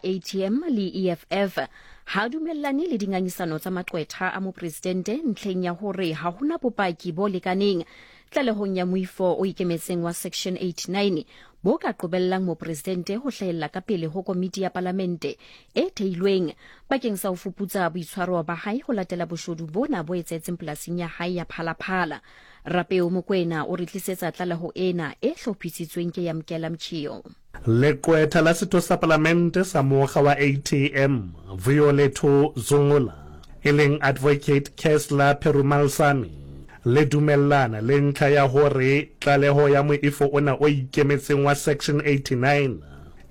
ATM le EFF ha a dumellane le dingangisano tsa maqwetha a mopresidente ntlheng ya hore ha hona bopaki bo lekaneng tlalehong ya moifo o ikemetseng wa Section 89 bo ka qobellang mopresidente ho hlahella ka pele ho komiti ya palamente e theilweng bakeng sa ho fuputsa boitshwaro ba hae ho latela boshodu bona bo etsahetseng polasing ya hae ya Phalaphala. Rapeo Mokoena o re tlisetsa tlaleho ena e hlophisitsweng ke Yamkela Mchio. Leqwetha la setho sa palamente sa mokga wa ATM, Vuyolethu Zungula, e leng Advocate Kesla Perumalsamy, le dumellana le ntlha ya hore tlaleho ya moifo ona o ikemetseng wa Section 89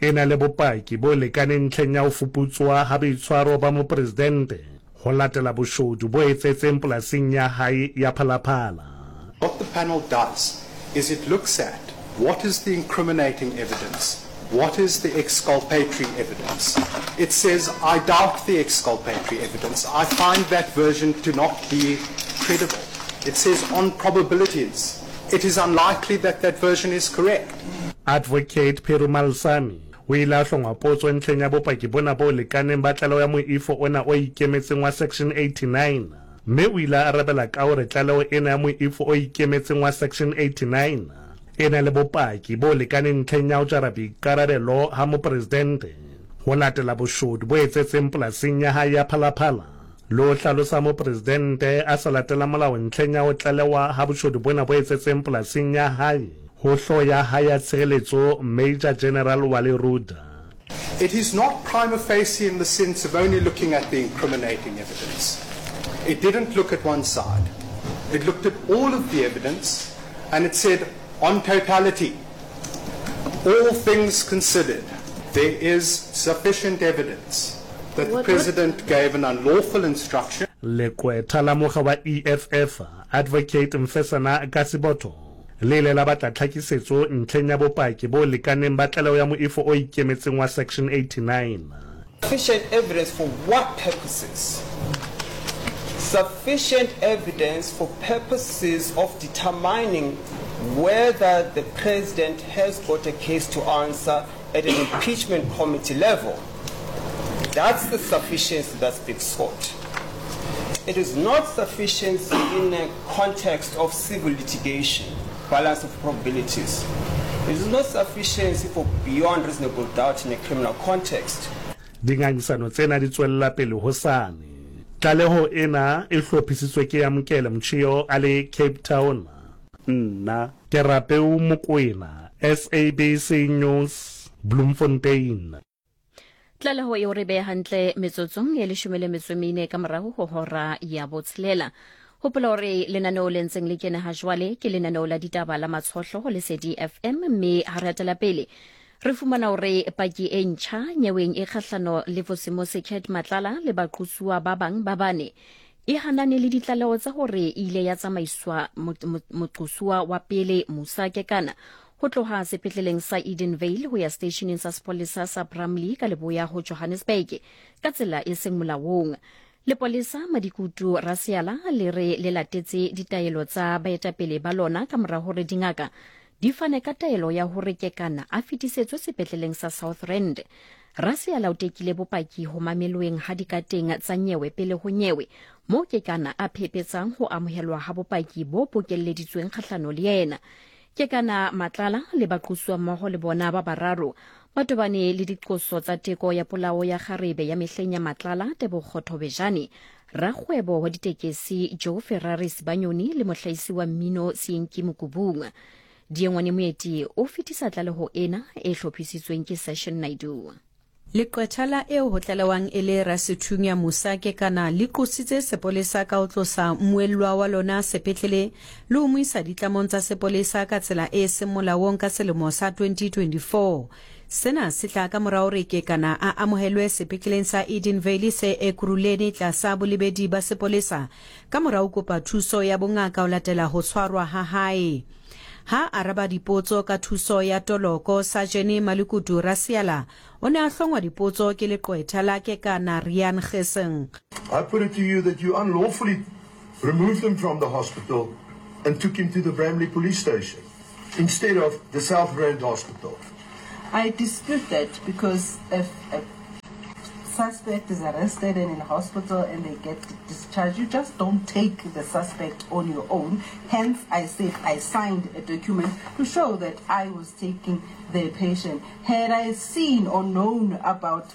e na le bopaki bo lekaneng ntlheng ya ho fuputswa ha boitshwaro ba mopresidente ho latela boshodu bo etsahetseng polasing ya hae ya Phalaphala. What the panel does is it looks at what is the incriminating evidence, what is the exculpatory evidence. It says, I doubt the exculpatory evidence. I find that version to not be credible. It says on probabilities, it is unlikely that that version is correct. Advocate Perumal Sami o ile a hlongwa potso ntlheng ya bopaki bona bo lekaneng ba tlaleho ya moifo ona o ikemetseng wa Section 89 mme o ile a arabela ka hore tlaleho ena ya moifo o ikemetseng wa Section 89 e na le bopaki bo lekaneng ntlheng ya ho jara boikarabelo ha mopresidente ho latela boshodu bo etsetseng polasing ya hae ya Phalaphala le ho hlalosa mopresidente a sa latela molao ntlheng ya ho tlalewa ha boshodu bona bo etsetseng polasing ya hae ho hlooho ya hae ya tshireletso Major General Wally Rhoode. It is not prima facie in the sense of only looking at the incriminating evidence. It didn't look at one side. It looked at all of the evidence and it said on totality, all things considered, there is sufficient evidence that the president gave an unlawful instruction. Leqwetha la mokga wa EFF, Advocate Mfesana Kasibotho, le ile la batla tlhakisetso ntlheng ya bopaki bo lekaneng ba tlaleho ya moifo o ikemetseng wa Section 89. Sufficient evidence for what purposes? Sufficient evidence for purposes of determining whether the president has got a case to answer at an impeachment committee level. That's the sufficiency that's being sought. It is not sufficiency in a context of civil litigation, balance of probabilities. It is not sufficiency for beyond reasonable doubt in a criminal context. Dingangisano tsena di tswella pele hosane. Tlaleho ena e hlophisitswe ke Yamkele Mtshio a le Cape Town. Nna ke Rapeu Mokoena, SABC News, Bloemfontein. Tlaleho eo re beha hantle metsotsong e leshome le metso e mene ka morago ho hora ya botshelela. Hopola hore lenaneo le ntseng le kene ha jwale ke lenaneo la ditaba la Matshohlo ho Lesedi FM, mme ha re hatela pele re fumana hore paki e ntjha nyeweng e kgahlano le Vusimusi Cat Matlala le baqosuwa ba bang ba bane e hanane le ditlaleho tsa hore e ile ya tsamaiswa moqosuwa wa pele Musa Kekana ho tloha sepetleleng sa Edenvale ho ya seteisheneng sa sepolesa sa Bramley ka leboya ho Johannesburg ka tsela e seng molaong. Lepolesa Madikutu Rasiala le re le latetse ditaelo tsa baetapele ba lona ka mora hore dingaka di fane ka taelo ya hore Kekana a fetisetswe sepetleleng sa South Rand. Rasiala o tekile bopaki ho mameloeng ha dikateng tsa nyewe pele ho nyewe moo Kekana a phepetsang ho amohelwa ha bopaki bo bokelleditsweng kgahlano le yena. Kekana Matlala le baqosuwa mmoho le bona ba bararo ba tobane le diqoso tsa teko ya polao ya kgarebe ya mehleng ya Matlala Tebogo Thobejane, rakgwebo wa ditekesi Joe Ferrari Sibanyoni le mohlahisi wa mmino Seenki Mokubung. Diengwane Moeti o fetisa tlaleho ena e hlophisitsweng ke Session Naidoo. Leqwetha la eo ho tlalewang e le rasethunya Musa Kekana le qositse sepolesa ka ho tlosa mmuellwa wa lona sepetlele le ho mo isa ditlamong tsa sepolesa ka tsela e seng molaong ka selemo sa 2024. Sena se tla ka mora hore Kekana a amohelwe sepetleleng sa Edenvale se Ekurhuleni tlasa bolebedi ba sepolesa ka mora ho kopa thuso ya bongaka ho latela ho tshwarwa ha hae. Ha a araba dipotso ka thuso ya toloko, Sajene Malikutu Rasiala o ne a hlongwa dipotso ke leqwetha la Kekana Riaan Gesing. I put it to you that you unlawfully removed him from the hospital and took him to the Bramley police station instead of the South Rand Hospital. I dispute that because if, if suspect is arrested and in hospital and they get discharged, you just don't take the suspect on your own. Hence, I said I signed a document to show that I was taking the patient. Had I seen or known about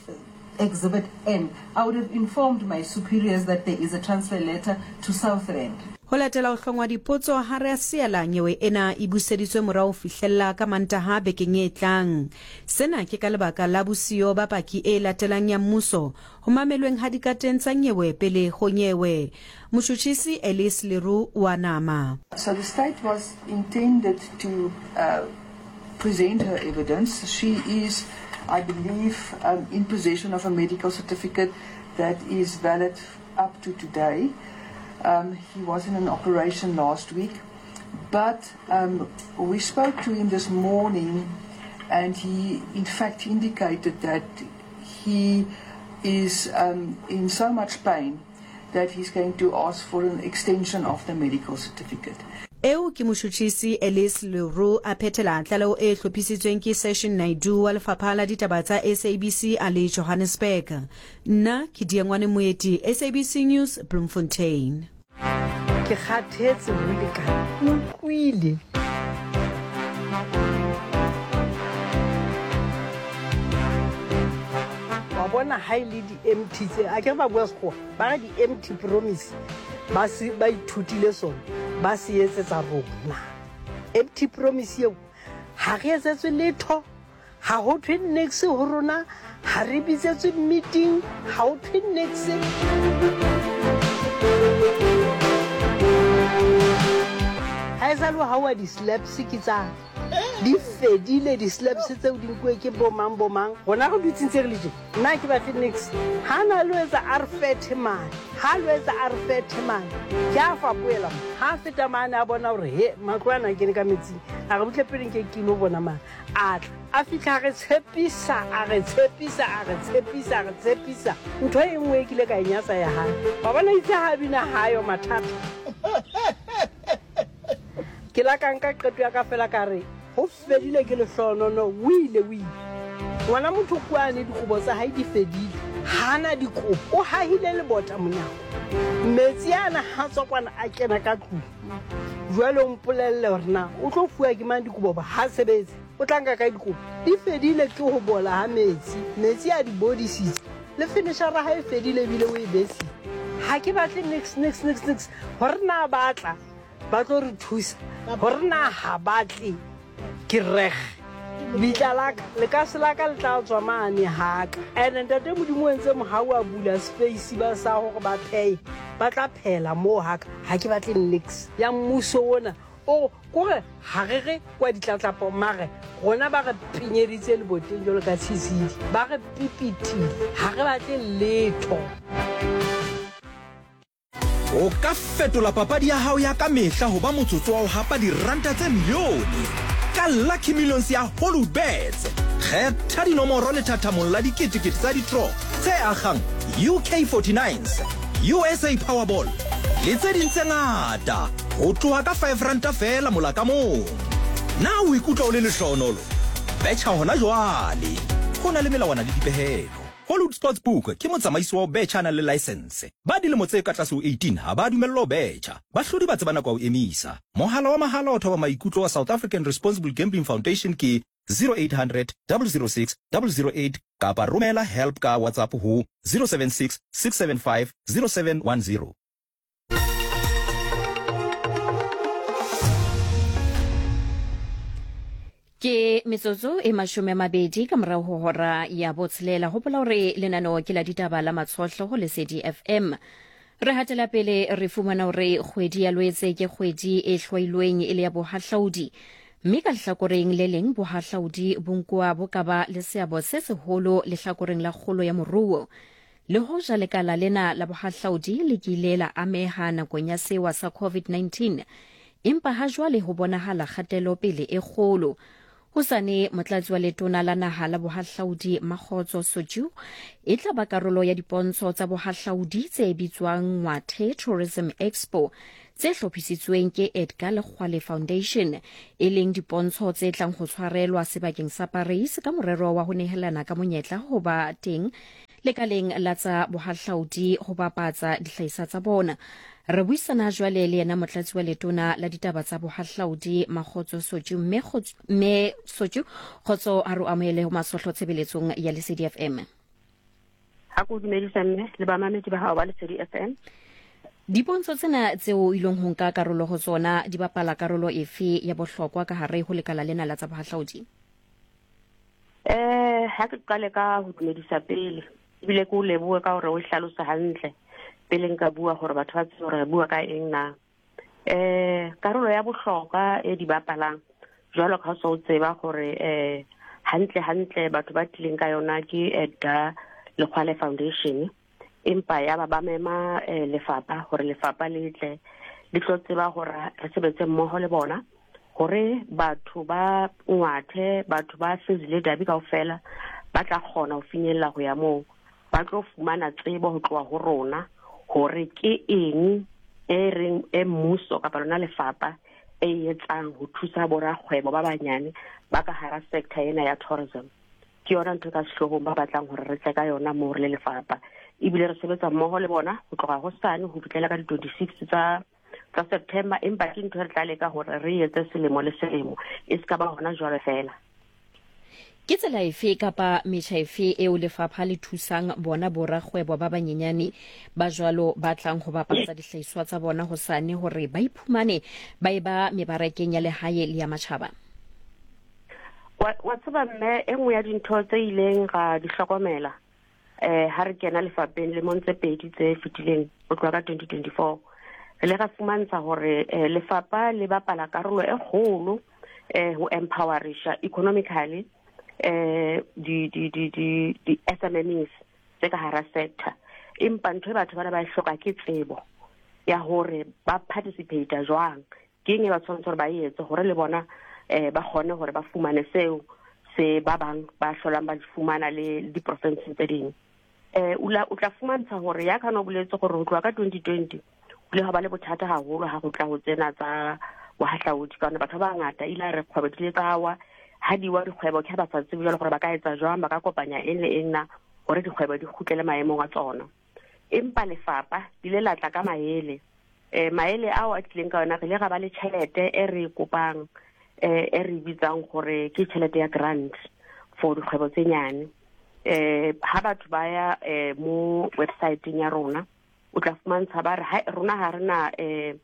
Exhibit N, I would have informed my superiors that there is a transfer letter to South Rand. Ho latela ho hlongwa dipotso ha rea seela nyewe ena e buseditswe morao ho fihlella ka Mantaha bekeng e tlang. Sena ke ka lebaka la bosiyo ba paki e latelang ya mmuso ho mamelweng ha dikateng tsa nyewe pele ho nyewe. Motjhutjhisi Elise Le Roux wa nama. So the state was intended to present her evidence. She is, I believe, um, in possession of a medical certificate that is valid up to today. Um, he was in an operation last week, but um, we spoke to him this morning, and he, in fact, indicated that he is um, in so much pain that he's going to ask for an extension of the medical certificate. Eo ke motjhutjhisi Elise Le Roux a phethela tlaleho e hlophisitsweng ke Session Naidoo wa Lefapha la Ditaba tsa SABC a le Johannesburg. Nna ke Diengwane Moeti, SABC News, Bloemfontein. Ke kgathetse ho lekane, ke utlwile. Wa bona ha e le di-empty tse, akere ba bua Sekgowa, ba re di-empty promise ba se ba ithutile sona, ba se etsetsa rona. Empty promise eo ha re etsetswe letho. Ha ho thwe niks ho rona, ha re bitsetswe meeting, ha ho thwe niks. Ha esale ho hauwa di-slaps ke tsa di fedile di-slaps tseo di nkuwe ke bo mang bo mang. Rona re dutse ntse re le tje, nna ha ke batle niks. Ha na lo etsa a re fethe mane, ha lo etsa a re fethe mane. Ke a fapohela mo, ha a feta mane a bona hore he matlo ana a kene ka metsing, a re butle pele nke ke ilo bona mane. A tla, a fihla a re tshepisa, a re tshepisa, a re tshepisa, a re tshepisa. Ntho e nngwe e kile ka e nyatsa ya hae. Wa bona itse ha a bina ha yo mathata. Ke la ka nka qeto ya ka fela ka re, ho fedile ke lehlohonono, o ile, o ile. Ngwana motho kwane dikobo tsa hae di fedile, ha a na dikobo, o hahile lebota monyako. Metsi ana ha tswa kwana a kena ka tlung. Jwale o mpolelle hore na o tlo fuwa ke mang dikobo ba ha sebetse. O tla nka kae dikobo? Di fedile ke ho bola ha metsi. Metsi a di bodisitse. Le finishara ha e fedile ebile o e besitse. Ha ke batle nix nix nix nix hore na ba tla ba tlo re thusa hore na ha ba tle. Ke reg bitla la ka lekase la ka le tla tswa mane ha ka. And ntate Modimo o entse mohau a bula space ba sa hore ba pheye ba tla phela moo ha ka. Ha ke batle nix ya mmuso ona o kore ha re re kwa ditlatlapo mare rona ba re pinyeditse leboteng jwalo ka tshisidi ba re pipitile ha re batle letho. O ka fetola papadi ya hao ya ka mehla ho ba motsotso wa ho hapa diranta tse milione ka Lucky Millions ya Hollywoodbets. Kgetha dinomoro lethathamong la diketekete tsa ditro tse akgang UK 49s, USA Powerball le tse ding tse ngata ho tloha ka R5 feela mola ka mong. Na o ikutlwa o le lehlohonolo? Betjha hona jwale. Ho na le melawana le dipehelo. Hollywood Sportsbook ke motsamaisi wa ho betjha a nang le laesense. Ba dilemo tse ka tlase ho 18 ha ba dumellwa ho betjha. Bahlodi ba tseba nako ya ho emisa. Mohala wa mahala wa thoba maikutlo wa South African Responsible Gambling Foundation ke 0800 006 008 kapa romela help ka WhatsApp ho 076 675 0710. Ke metsotso e 20 ka morago go hora ya botshelela. Gopola gore lenaneo ke la ditaba la Matshohlo go Lesedi FM. Re hatela pele re fumana gore kgwedi ya Lwetse ke kgwedi e hlwailweng e le ya bohahlaudi. Mme ka lehlakoreng le leng bohahlaudi bo nkuwa bo ka ba le seabo se seholo lehlakoreng la kgolo ya moruo. Le hoja lekala lena la bohahlaudi le kile la ameha nakong ya sewa sa COVID-19, empa hajwale ho bonahala kgatelopele e kgolo. Hosane, Motlatsi wa Letona la Naha la Bohahlaudi Makgotso Sotyu e tla ba karolo ya dipontsho tsa bohahlaudi tse bitswang Ngwathe Tourism Expo tse hlophisitsweng ke Edgar Lekgwale Foundation, e leng dipontsho tse tlang ho tshwarelwa sebakeng sa Paris ka morero wa ho nehelana ka monyetla ho ba teng. Lekaleng la tsa bohahlaudi ho bapatsa dihlahiswa tsa bona. Re buisana jwale le yena motlatsi wa letona la ditaba tsa bohahlaudi Makgotso Sotju. Mme Mme Sotju, kgotso, ha re o amohele ho Masohlo tshebeletsong ya Lesedi FM. Ha ke o dumedisa mme le bamamedi ba hao ba Lesedi FM. Dipontsho tsena tseo o ileng ho nka karolo ho tsona di bapala karolo efe ya bohlokwa ka hare ho lekala lena la tsa bohahlaudi? Eh, ha ke qale ka ho dumedisa pele ebile ke o lebohe ka hore o hlalose hantle pele nka bua hore batho ba tsebe hore re bua ka eng na. Eh, karolo ya bohlokwa e di bapalang jwalo ka so tseba hore eh hantle hantle batho ba tlileng ka yona ke Edgar Lekgwale Foundation empa ya ba ba mema eh, lefapha hore lefapha le tle le tlo tseba hore re sebetse mmoho le bona hore batho ba ngwathe batho ba Fezile Dabi kaofela ba tla kgona ho finyella ho ya moo ba tlo fumana tsebo ho tloha ho rona hore ke eng e reng e mmuso kapa lona lefapha e etsang ho thusa borakgwebo ba banyane ba ka hara sector ena ya tourism. Ke yona ntho e ka sehloohong ba batlang hore re tle ka yona moo re le lefapha. Ebile re sebetsa mmoho le bona ho tloha hosane ho fihlela ka di-26 tsa tsa September, empa ke ntho e re tla leka hore re etse selemo le selemo, e se ka ba hona jwale fela. Ke tsela efe kapa metjha efe eo lefapha le thusang bona borakgwebo ba banyenyane ba jwalo ba tlang ho bapatsa dihlahiswa tsa bona hosane hore ba iphumane ba eba mebarakeng ya lehae le ya matjhaba? Wa, wa tseba mme, e nngwe ya dintho tse ileng ra di hlokomela eh ha re kena lefapheng lemong tse pedi tse fetileng ho tloha ka 2024 re le ra fumantsha hore eh, lefapha le bapala karolo e kgolo eh ho empowerisha economically eh di di di di di SMMEs tse ka hara sector empa ntho e batho bana ba e hloka ke tsebo ya hore ba participate jwang ke eng e ba tshwanetse gore ba e etse gore le bona um ba kgone gore ba fumane seo se ba bang ba hlolang ba di fumana le diporofenseng tse ding um o tla fumantsha gore ya kana o boletse gore go tloha ka 2020 o ile ga ba le bothata haholo ha go tla go tsena tsa bohahlaodi ka batho ba bangata ile a re kgwebo di ile tsa wa ha di wa dikgwebo ke ha ba sa tsebe jwale gore ba ka etsa jwang ba ka kopanya eng le eng na gore dikgwebo di kgutlele maemong a tsona empa lefapha le ile la tla ka maele eh maele ao a tlileng ka yona re ile ra ba le tšhelete e re e kopang eh e re bitsang gore ke tšhelete ya grant for dikgwebo tse nyane eh ha batho ba ya eh mo websiteng ya rona o tla fumantsha ba re ha rona ha rena eh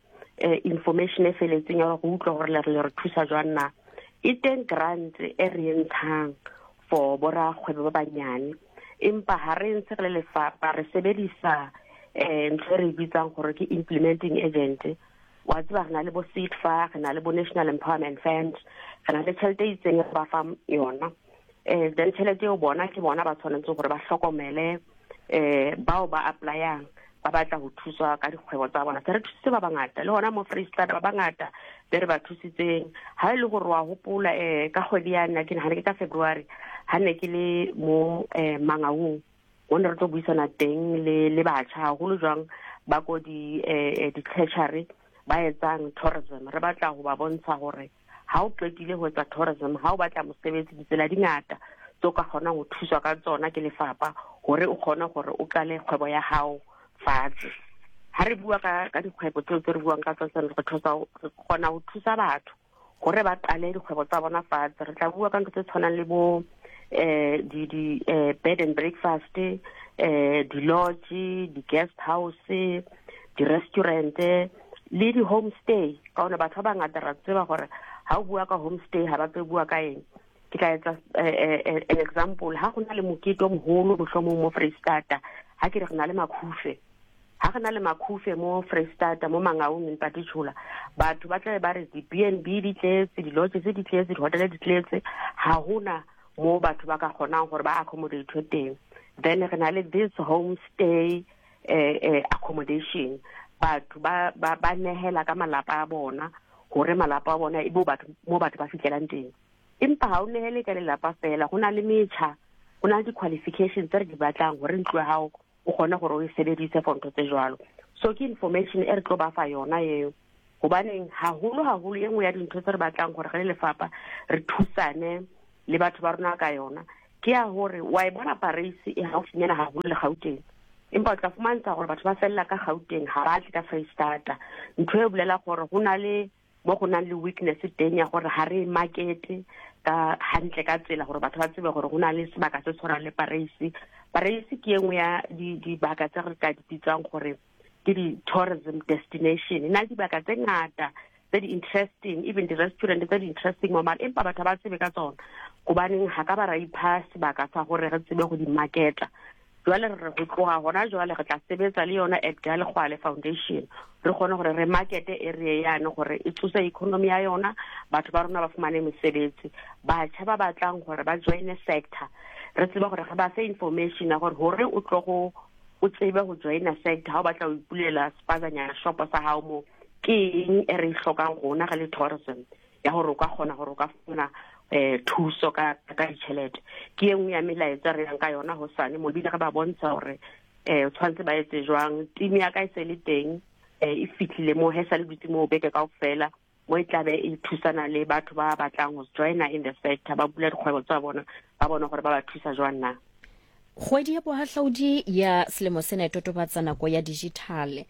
information e feletseng ya go utlwa gore le re thusa jwang na e teng grant e re e ntshang for borakgwebo ba banyane empa ha re ntse re le lefapha re sebedisa um ntho e re e bitsang gore ke implementing agent wa tseba re na le bo SEDFA re na le bo National Empowerment Fund re na le tšhelete e itseng re ba fang yona um then tšhelete eo bona ke bona ba tshwanetse gore ba hlokomele um bao ba applyang ba batla ho thuswa ka dikgwebo tsa bona se re thusitse ba bangata le hona mo Freistata ba bangata be re ba thusitseng ha e le gore wa hopola um ka kgwedi ya nna ke nagane ke ka February ha ne ke le mo um Mangaung mo ne re tlo buisana teng le le batjha haholo jwang ba ko di eh, di-treasury ba etsang tourism re batla ho ba bontsha gore ha o qetile ho etsa tourism ha o batla mosebetsi ditsela di ngata tse o ka kgonang ho thuswa ka tsona ke lefapha hore o kgone gore o qale kgwebo ya hao fatshe ha re bua ka ka dikgwebo tseo tse re buang ka tsona re thusa re kgona ho thusa batho gore ba qale dikgwebo tsa bona fatshe re tla bua ka ntho tse tshwanang le bo eh di di eh bed and breakfast eh di lodge di guest house di restaurant le di homestay ka one batho ba bangata ra tseba gore ha o bua ka homestay ha ba tse bua ka eng ke tla etsa eh, eh, eh, an example ha go na le mokete o mogolo mohlomong mo Freistata ha ke re re na le makhufe ha re na le makhufe mo Freistata mo Mangaung in particular batho ba tlabe ba re di-B&B di tletse di-lodges di tletse di-hotel di tletse ha hona mo batho ba ka kgonang gore ba accommodate teng then re na le this homestay eh, eh, accommodation batho ba ba ba nehela ka malapa a bona hore malapa a bona e bo batho mo batho ba fihlelang teng empa ha o nehele ka lelapa fela go na le metjha go na le di-qualifications tse re di batlang gore ntlo ya gago o kgone gore o e sebedise for ntho tse jwalo so ke information e re tlo ba fa yona eo gobaneng haholo haholo e nngwe ya dintho tse re batlang gore re le lefapha re thusane le batho ba rona ka yona. Ke ya hore wa e bona Paris e haufinyana haholo le Gauteng, empa o tla fumantsha gore batho ba felela ka Gauteng, ga ba tle ka Freistata. Ntho e bolela gore go na le mo go nang le weakness teng ya gore ga re markete ka hantle ka tsela gore batho ba tsebe gore go na le sebaka se tshwanang le Paris. Paris ke e nngwe ya dibaka tse re ka di bitsang gore ke di-tourism destination. E na le dibaka tse ngata tse di-interesting, even di-restaurant tse di-interesting mo mare, empa batho ba tsebe ka tsona gobaneng ga ka ba ra ipha sebaka sa gore re tsebe go di marketa. Jwale re re go tloga gona jwale re tla sebetsa le yona Edgar Lekgoale Foundation, re kgone gore re markete area yane gore e tsose economy ya yona, batho ba rona ba fumane mesebetsi, batjha ba batlang gore ba joine sector, re tsebe gore re ba fe information ya gore hore o tlo go o tsebe go joina sector ha o batla ho ipulela spazanyana shopo sa hao mo, ke eng e re e hlokang rona re le tourism ya gore o ka kgona gore o ka fumana thuso ka ka ditjhelete. Ke e nngwe ya melaetsa re yang ka yona hosane mo, ebile re ba bontsha gore o tshwanetse ba etse jwang. Team ya ka e se le teng, e fihlile mo, he sa le dutse moo beke kaofela mo, e tlabe e thusana le batho ba batlang ho joina in the sector, ba bula dikgwebo tsa bona, ba bone gore ba ba thusa jwang na. Kgwedi ya bohahlaudi ya selemo sena e totobatsa nako ya digital.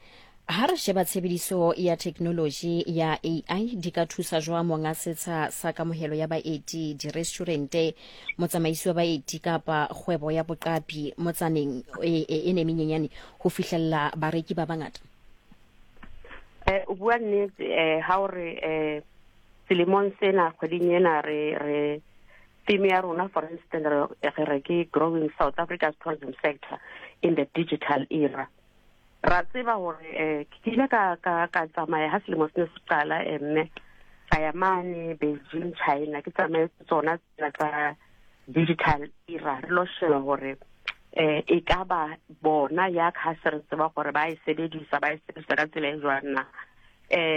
Ha re sheba tshebediso ya theknoloji ya AI, di ka thusa jwang monga setsha sa kamohelo ya baeti, direstaurante, motsamaisi wa baeti kapa kgwebo ya boqapi motsaneng e ne menyenyane ho fihlella bareki ba bangata? O bua nnete ha o re selemong sena kgweding ena re re theme ya rona, for instance, re re ke growing South Africa's tourism sector in the digital era. Ra tseba hore ke ile ka ka ka tsamaya ha selemo se ne se qala, mme ka ya mane Beijing, China, ke tsamaye tsona tsena tsa digital era, re lo sheba hore e ka ba bona ya ka se re tseba gore ba e sebedisa, ba e sebedisa ka tsela e jwang na.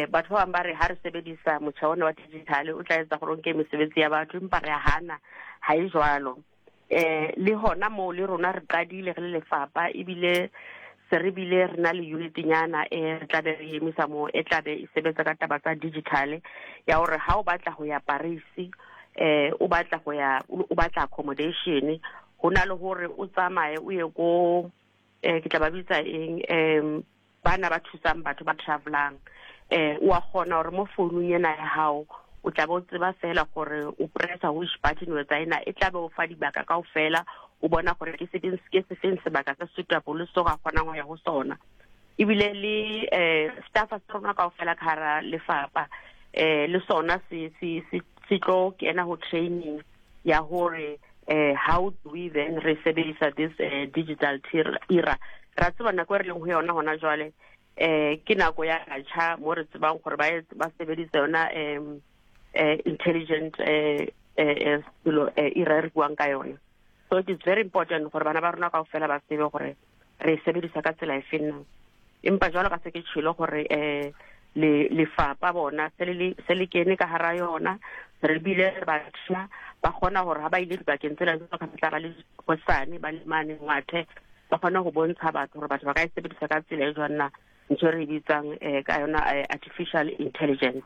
Batho ba bang ba re ha re sebedisa motjha ona wa digital o tla etsa gore o nke mesebetsi ya batho, empa re a hana, ha e jwalo. Le hona moo le rona re qadile re le lefapha, ebile se re bile re na le unit-nyana e re tlabe re emisa moo, e tlabe e sebetsa ka taba tsa digital ya hore ha o batla ho ya Paris, o batla ho ya, o batla accommodation, ho na le hore o tsamaye o ye ko ke tla ba bitsa eng, bana ba thusang batho ba travelang, o a kgona hore mo founung ena ya hao o tla be o tseba fela gore o pressa which button o etsa ena, e tla be o fa dibaka kaofela, o bona gore ke sefeng, ke sefeng sebaka se suitable so ka kgonang ho ya ho sona. Ebile le staff sa rona kaofela ka hara lefapha le sona se se se se tlo kena ho training ya hore how do we then re sebedisa this digital era. Ra tseba nako e re leng ho yona hona jwale, ke nako ya batjha mo re tsebang gore ba ba sebedisa yona intelligent selo era e re buang ka yona. So it is very important gore bana ba rona kaofela ba tsebe gore re e sebedisa ka tsela e feng na. Empa jwalo ka se ke tjhelo gore le lefapha bona se le se le kene ka hara yona, re bile re batjha ba kgona hore ha ba ile dibakeng tsena jwalo ka tla ba le hosane ba le mane Ngwathe, ba kgone ho bontsha batho hore batho ba ka e sebedisa ka tsela e jwang na, ntho e re e bitsang ka yona artificial intelligence.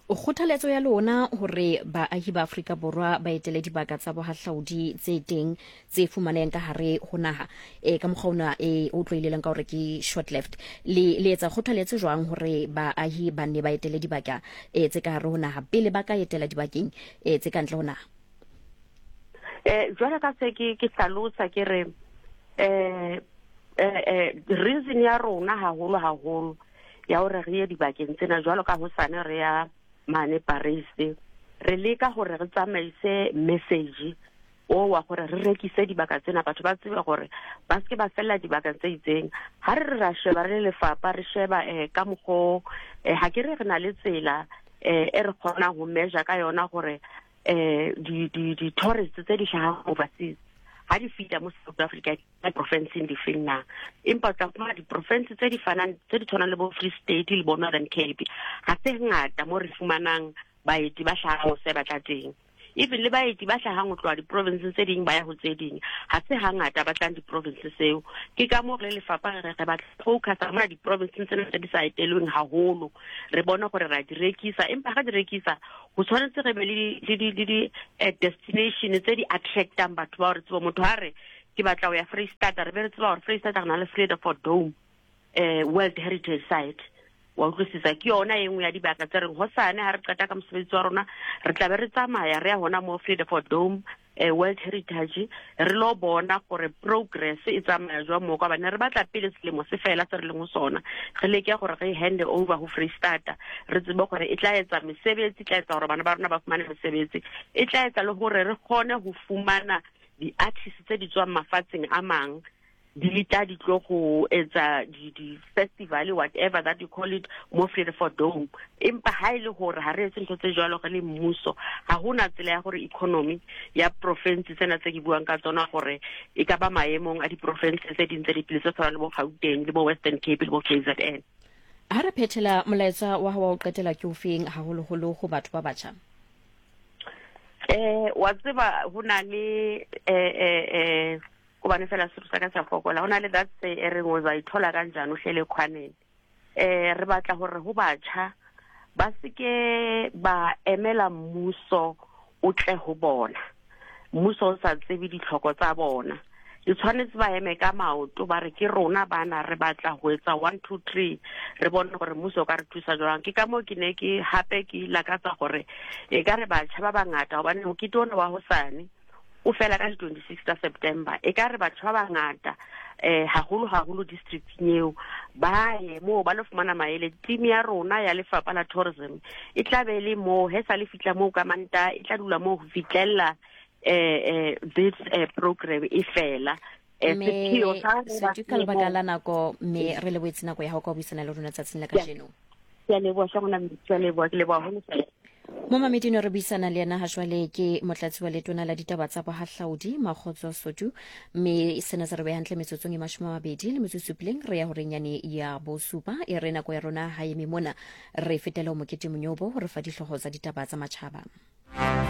Kgothaletso ya lona hore baahi ba Afrika Borwa ba etele dibaka tsa bohahlaudi tse teng tse fumanehang ka hare ho naha, ka mokgwa ona e o tloileleng ka hore ke short left, le le etsa kgothaletso jwang hore baahi ba nne ba etele dibaka tse ka hare ho naha pele ba ka etela dibakeng tse ka ntle ho naha? Jwale ka se ke ke hlalosa ke re reason ya rona haholo haholo ya hore re ye dibakeng tsena jwalo ka hosane re ya mane Paris, re leka hore re tsamaise message o wa gore re rekise dibaka tsena, batho ba tsebe gore ba seke ba fella dibakeng tse itseng. Ha re re ra sheba re le lefapha, re sheba ka mokgo ha ke re re na le tsela e re kgonang ho measure ka yona gore di di di tourists tse di hlahang overseas ha di fihla mo South Africa di provinceng di feng na. Empa o tla fumana di-province tse di fanang, tse di tshwanang le bo Free State le bo Northern Cape, ha se ngata mo re fumanang baeti ba hlahang se batla teng. Even le baeti ba hlahang ho tloha diprovinseng tse ding ba ya ho tse ding, ha se hangata ba tlang diprovinse seo. Ke ka moo re le lefapha re re re batla focus-a mona diprovinseng tsena tse di sa etelweng haholo, re bone gore ra di rekisa. Empa ha re di rekisa, ho tshwanetse re be le di, le di, le di eh, destination tse di attractang batho ba gore tsebo motho ha re ke batla ho ya Freistata, re be re tseba gore Freistata re na le Vredefort Dome eh, World Heritage Site. Wa utlwisisa? Ke yona e nngwe ya dibaka tse reng hosane ha re qeta ka mosebetsi wa rona re tla be re tsamaya re ya hona mo Vredefort Dome eh, World Heritage re lo bona gore progress e tsamaya jwang mo ka bane re batla pele selemo se fela se re leng ho sona re leke gore re hand over ho Freistata re tsebe gore e tla etsa mesebetsi e tla etsa gore bana ba rona ba fumane mesebetsi e tla etsa le gore re kgone ho fumana di-artist tse di tswang mafatsheng a mang di tla di tlo go etsa di-festival whatever that you call it mo Vredefort Dome. Empa ha e le gore ha re etse ntho tse jwalo re le mmuso, ha hona tsela ya gore economy ya province tsena tse ke buang ka tsona gore e ka ba maemong a diprovince tse ding tse dipele tse tshwanang le bo Gauteng le bo Western Cape le bo KZN. Ha re phethela molaetsa wa hao wa ho qetela ke ofeng haholoholo ho batho ba batjha? Eh wa tseba ho na le eh eh eh Gobane fela Sesotho sa ka sa fokola. Ho na le that say e reng o ithola kanjani o hlele khwaneng. Eh re batla hore ho batjha ba seke ba emela mmuso o tle ho bona. Mmuso o sa tsebe ditlhoko tsa bona. E tshwanetse ba eme ka maoto ba re ke rona bana re batla ho etsa 1 2 3 re bone gore mmuso o ka re thusa jwang. Ke ka moo ke ne ke hape ke lakatsa gore e ka re batjha ba bangata hobane mokete ona wa hosane o fela ka di-26 tsa September. E ka re batho ba bangata eh haholo haholo districting eo ba ye moo ba lo fumana maele. Team ya rona ya lefapha la tourism e tla be le moo he sa le fitla moo ka Mantaha, e tla dula moo ho fitlella eh eh this eh, program e fela. Eh, Mme sepheo sa re ba Setu, ka lebaka moo la nako mme re lebohetse nako ya hao ka ho buisana le rona tsatsing la kajeno. Ke a leboha hle ngwana mme, ke a leboha, ke leboha haholo fela. Momamedi no re buisana le yena hajwale ke motlatsi wa letona la ditaba tsa bohahlaudi Makgotso Sotu, mme sena se re beha hantle metsotsong e 27 re ya horeng yane ya bosupa. E re nako ya rona ha eme mona, re fetele ho Mokete Monyobo ho re fa dihlooho tsa ditaba tsa matjhaba.